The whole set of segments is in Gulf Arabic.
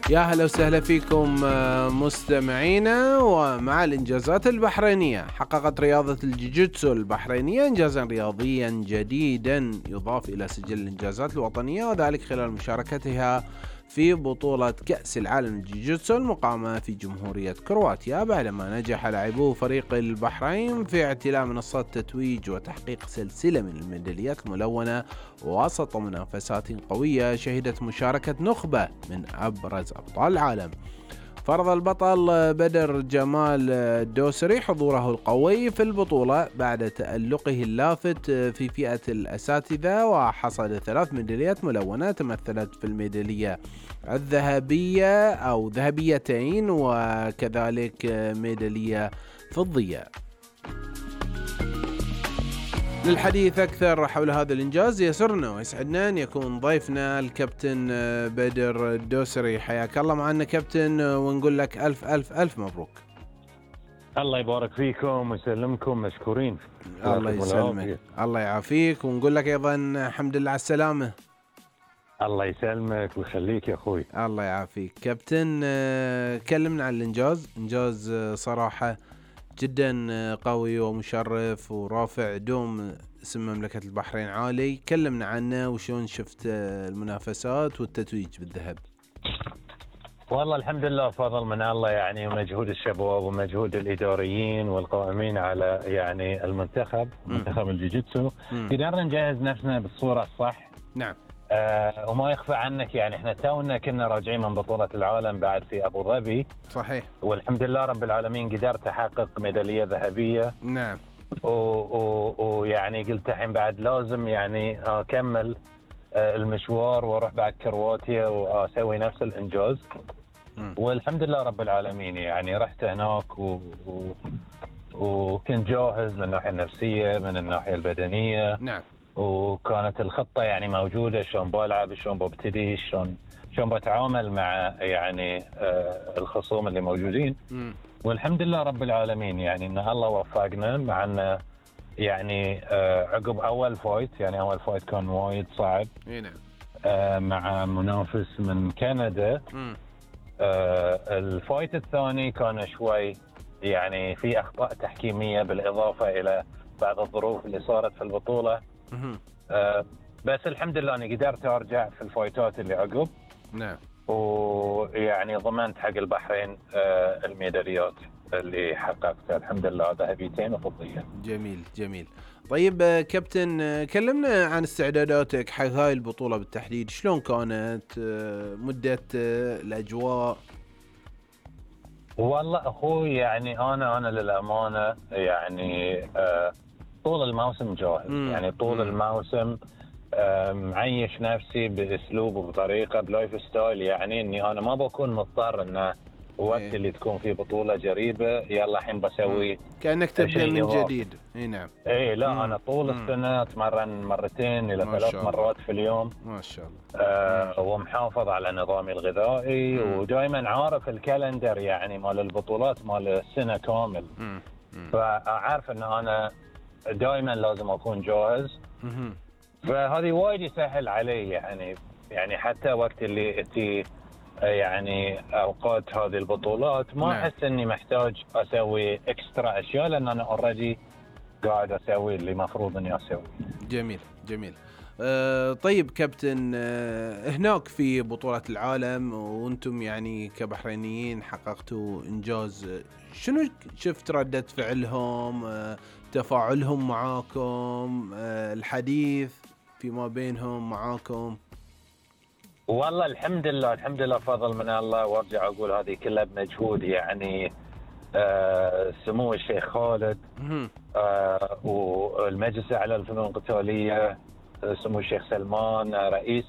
يا هلا وسهلا فيكم مستمعينا. ومع الإنجازات البحرينية، حققت رياضة الجيجيتسو البحرينية إنجازا رياضيا جديدا يضاف إلى سجل الإنجازات الوطنية، وذلك خلال مشاركتها في بطولة كأس العالم الجيجيتسو المقامة في جمهورية كرواتيا، بعدما نجح لاعبو فريق البحرين في اعتلاء منصات التتويج وتحقيق سلسلة من الميداليات الملونة وسط منافسات قوية شهدت مشاركة نخبة من أبرز أبطال العالم. فرض البطل بدر جمال الدوسري حضوره القوي في البطولة بعد تألقه اللافت في فئة الأساتذة، وحصد 3 ميداليات ملونة تمثلت في الميدالية الذهبية أو ذهبيتين وكذلك ميدالية فضية. للحديث أكثر حول هذا الإنجاز يسرنا ويسعدنا أن يكون ضيفنا الكابتن بدر الدوسري. حياك الله معنا كابتن، ونقول لك ألف ألف ألف مبروك. الله يبارك فيكم ويسلمكم، مشكورين. الله يسلمك، الله يعافيك، ونقول لك أيضا الحمد لله على السلامة. الله يسلمك ويخليك يا أخوي. الله يعافيك كابتن. كلمنا عن الإنجاز. إنجاز صراحة جدا قوي ومشرف ورافع دوم اسم مملكة البحرين عالي. كلمنا عنه وشون شفت المنافسات والتتويج بالذهب. والله الحمد لله، فضل من الله يعني، ومجهود الشباب ومجهود الإداريين والقائمين على يعني المنتخب الجيجيتسو. قدرنا نجهز نفسنا بالصورة الصح. نعم. وما يخفى عنك يعني احنا تونا كنا راجعين من بطولة العالم بعد في أبو ظبي. صحيح. والحمد لله رب العالمين قدرت أحقق ميدالية ذهبية. نعم. ويعني قلت الحين بعد لازم يعني أكمل المشوار واروح بعد كرواتيا واسوي نفس الانجاز. والحمد لله رب العالمين يعني رحت هناك وكنت جاهز من الناحيه النفسيه من الناحيه البدنيه. نعم. وكانت الخطه يعني موجوده، شلون بلعب، شلون ببتدي، شلون بتعامل مع يعني الخصوم اللي موجودين. والحمد لله رب العالمين يعني ان الله وفقنا، مع انه يعني عقب اول فايت كان وايد صعب. نعم. مع منافس من كندا. الفايت الثاني كان شوي يعني في اخطاء تحكيميه بالاضافه الى بعض الظروف اللي صارت في البطوله. بس الحمد لله اني قدرت ارجع في الفايتات اللي عقب. نعم. ويعني ضمنت حق البحرين الميداليات اللي حققتها الحمد لله، ذهبيتين وفضيه. جميل جميل. طيب كابتن، كلمنا عن استعداداتك حق هاي البطولة بالتحديد. شلون كانت مدة الأجواء؟ والله أخوي يعني أنا للأمانة يعني طول الموسم جاهز. يعني طول الموسم معيش نفسي بأسلوب وبطريقة بلايف ستايل، يعني إني أنا ما بكون مضطر إنه وقت اللي تكون في بطولة جريبة يلا الحين بسوي كأنك تبدأ من جديد. نعم. لا أنا طول السنة أتمرن 2 إلى 3 مرات في اليوم ما شاء الله. ومحافظ على نظامي الغذائي ودائما عارف الكالندر يعني مال البطولات مال السنة كامل. فأعرف إن أنا دائما لازم أكون جاهز. فهذه وايد يسهل علي يعني حتى وقت اللي أتي يعني أوقات هذه البطولات ما أحس إني محتاج أسوي إكسترا أشياء، لأن أنا أوريدي قاعد أسوي اللي مفروض إني أسوي. جميل جميل. طيب كابتن، هناك في بطولة العالم وأنتم يعني كبحرينيين حققتوا إنجاز، شنو شفت ردة فعلهم، تفاعلهم معاكم، الحديث فيما بينهم معاكم؟ والله الحمد لله فضل من الله، وارجع اقول هذه كلها بمجهود يعني سمو الشيخ خالد والمجلس الاعلى للفنون القتاليه، سمو الشيخ سلمان رئيس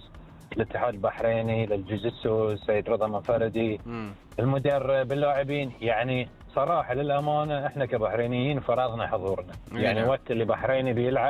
الاتحاد البحريني للجوجيتسو السيد رضا منفردي، المدرب، اللاعبين. يعني صراحه للامانه احنا كبحرينيين فرضنا حضورنا. يعني وقت اللي بحريني بيلعب